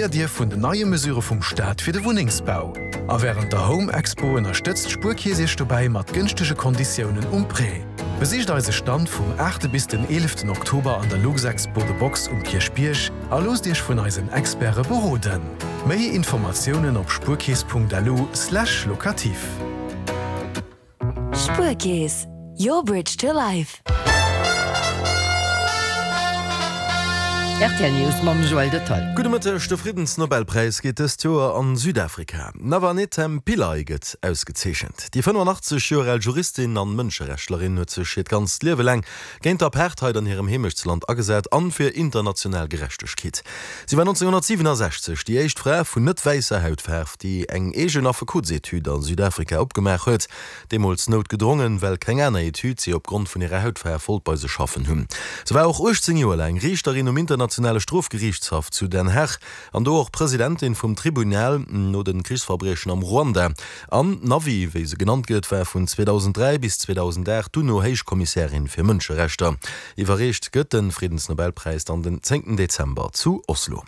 Dir vun den neie Mesure vum Staat fir de Wunnengsbau. A wärend der Home Expo ënnerstëtzt d'Spuerkeess Iech dobäi mat gënschtege Konditiounen um Prêt. Besicht eise Stand vum 8 bis den 11 Oktober an der Luxexpo The Box um Kierchbierg a loosst Iech vun eisen Experte beroden. Méi Informatiounen op spuerkeess.lu/locatif. Spuerkeess, your bridge to life. Rtl News mam Joël Detaille. Gudde Mëtteg, De Friddensnobelpräis geet dëst Joer an Südafrika. D'Navanethem Pillay gëtt ausgezeechent. Déi 85 Joer al Juristin an Mënscherechtlerin huet sech hiert ganzt Liewe laang géint d'Apartheid an hirem Heemechtsland agesat an fir international Gerechtegkeet. Si war 1967 déi éischt Fra vun net wäisser Hautfaarf, déi eng eegen Affekotsetüd a Südafrika opgemaach huet, deemools noutgedrongen, well keng aner Etüd si opgrond vun hirer Hautfaarf wollt bei sech schaffen hunn. Se war och 18 Joer laang Riichterin um Internationale Strofgeriichtshaff zu Den Haag an do och Presidentin vum Tribunal no de Krichsverbriechen am Ruanda. An d'Navi, wéi se genannt gëtt, war vun 2003 bis 2008 d'UNO-Héichkommissärin fir Mënscherechter. Iwwerreecht gëtt de Friddensnobelpräis dann den zéngten Dezember zu Oslo.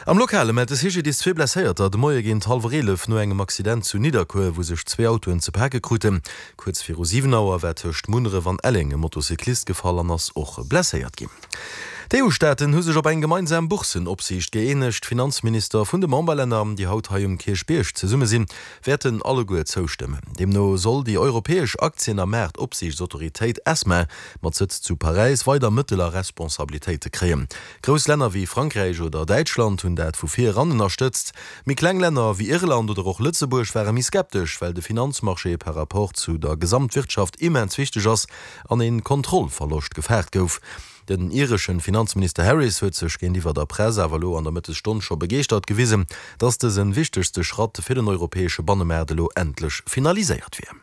Am Lokale mellt de CGDIS zwee Blesséierter de Moie géint hallwer 11 no engem Accident zu Nidderkuer, wou sech zwee Autoen ze pake kruten. Kuerz viru 7 Auer war tëscht Munneref an Elleng e Motocyclist gefall an ass och blesséiert ginn. D'EU-Staaten hu sech op eng gemeinsam Boursen-Opsiicht gëeenegt. D'Finanzminister vun de Memberlänner, déi haut hei um Kierchbierg zesumme sinn, wäerten alleguer zoustëmmen. Deemno soll déi europäesch Aktien a Maart-Opsiichtsautoritéit ESMA mat Sëtz zu Paräis weider Mëttel a Responsabilitéite kréien. Grouss Länner wéi Frankräich oder Däitschland hunn dat vu vir eran ënnerstëtzt. Méi kleng Länner wéi Irland oder och Lëtzebuerg ware méi skeptesch, well de Finanzmarché par rapport zu der Gesamtwirtschaft immens wichteg ass an een Kontrollverloscht gefaart gouf. Den ireschen Finanzminister Harris huet sech géintiwwer der Press awer elo an der Mëttesstonn scho begeeschtert gewisen, datt dësen wichtegste Schratt fir den europäesche Bannemaart elo endlech finaliséiert wier.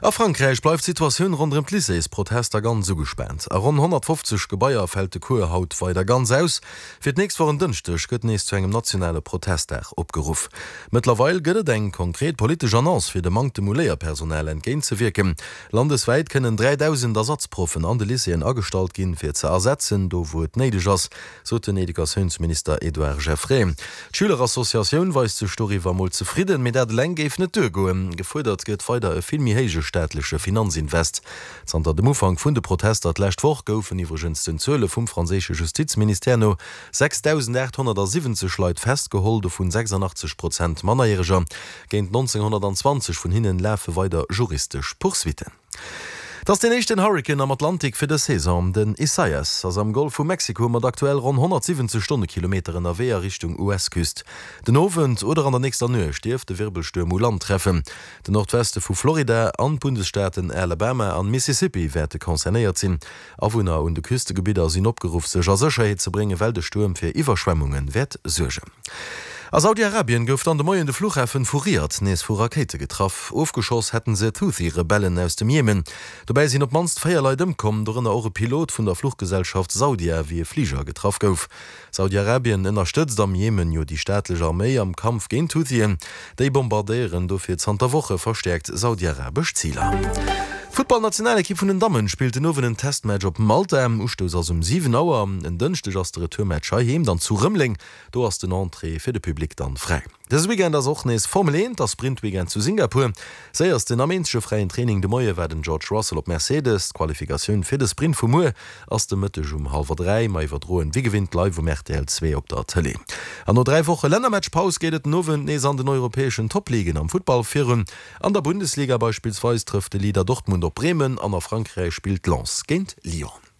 A Frankräich bleift d'Situatioun ronderëm d'Lycéesprotester ganz ugespaant. A ronn 150 Gebaier fält de Cours haut weider ganz aus. Fir d'nächst Woch en Dënschdeg gëtt nees zu engem nationale Protestdag opgeruff. Mëttlerweil gëtt et eng konkret politesch Annonce, fir dem Manktem u Léierpersonal entgéintzewierken. Landeswäit kënnen 3.000 Ersatzproffen an de Lycéeën agestallt ginn, fir ze ersetzen, do wou et néideg ass, sot den Educatiounsminister Edouard Geffray. D'Schülerassociatioun weist sech doriwwer mol zefridden, mee dat eleng géif net duergoen. Gefuerdert gëtt weider e vill méi héije staatleche Finanzinvest. Zanter dem Ufank vun de Protester d'lescht Woch goufen iwwregens den Zuele vum franséische Justizministère no 6.870 Leit festgeholl, dovun 86 Prozent Mannerjäreger. Géint 1.920 vun hinnen lafe weider juristesch Poursuitten. Et ass deen éischten Hurrikan am Atlantik fir dës Saison. Den Isaias ass am Golf vu Mexiko mat aktuell ronn 170 Stonnekilometer ënnerwee a Richtung US-Küst. Den Owend oder an der nächster Nuecht dierft de Wirbelstuerm u Land treffen. Den Nordweste vu Florida an d'Bundesstaaten Alabama an Mississippi wäerte concernéiert sinn. Awunner un de Küstegebidder sinn opgeruff, sech a Sécherheet ze bréngen, well de Stuerm fir Iwwerschwemmunge wäert suergen. A Saudi-Arabien gouf dann de Moien de Fluchhafen vu Riad nees vu Rakéite getraff. Ofgeschoss hätten se d'Houthi-Rebellen aus dem Jemen. Dobäi sinn op d'mannst 4 Leit ëmkomm, dorënner och e Pilot vun der Fluchgesellschaft Saudia, wéi e Fliger getraff gouf. Saudi-Arabien ënnerstëtzt am Jemen jo déi staatlech Arméi am Kampf géint d'Huthien. Déi bombardéieren dofir zanter Woche verstäerkt saudiarabesch Ziler. D'Futtballnationalekipp vun den Dammen spillt den Owend en Testmatch op Malta. Ustouss ass um 7 Auer. En Dënschdeg ass de Retourmatch heiheem dann zu Rëmeleng. Do ass den Entrée fir de Public dann fräi. Dëse Weekend ass och nees Formel 1 a Sprint-Weekend zu Singapur. Séiersten am eenzege fräien Training de Moie war den George Russell op Mercedes. D'Qualifikatioun fir de Sprint vu muer ass de Mëtteg um hallwer 3. Mer iwwerdroen wéi gewinnt live um rtl 2 op der Tëlee. An no 3 Woche Lännermatch-Paus geet et den Owend nees an den europäeschen Top-Ligen am Futtball virun. An der Bundesliga beispillsweis trëfft de Leader Dortmund op Bremen an a Frankräich spillt Lens géint Lyon.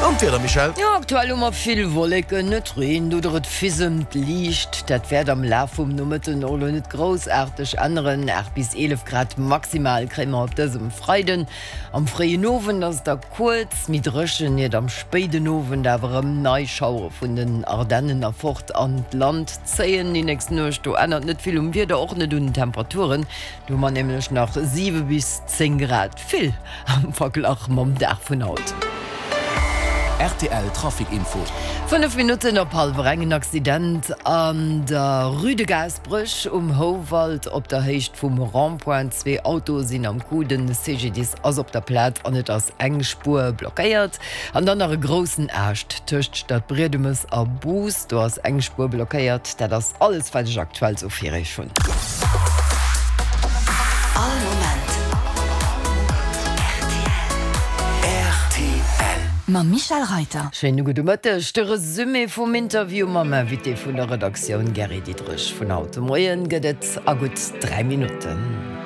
An d'Wieder, Michèle? Jo, aktuell hu mer vill Wolleken, et reent oder et fisemt liicht. Dat wäert am Laf vum Nomëtten och elo net groussaarteg änneren. 8 bis 11 Grad maximal kréie mer op dësem Freiden. Am fréien Owend ass et da kuerz méi dréchen, iert am spéiden Owend awer erëm nei Schauere vun den Ardennen erfort an d'Land zéien. Déi nächst Nuecht do ännert net vill um Wieder, och net un den Temperaturen. Do hu mer nämlech nach 7 bis 10 Grad. Vill am Verglach mam Dag vun haut. Rtl Trafic Info. 5 Minutten op hallwer eng, En Accident an der Rue de Gaasperech um Houwald op der Héicht vum Rond-point. Zwee Autoe sinn am Coup, den CGDIS ass op der Plaz an et ass eng Spuer blockéiert. An dann nach e groussen Aascht tëscht Stadbriedemes a Bous, do ass eng Spuer blockéiert. Dat ass alles wat ech aktuell sou fir iech hunn. All Moment rtl. Mam Michèle Reiter. Schéine gudde Mëtteg. De Resumé vum Interview mam Invité vun der Redaktioun Gary Diderich vun haut de Moien gëtt et a gutt 3 Minutten.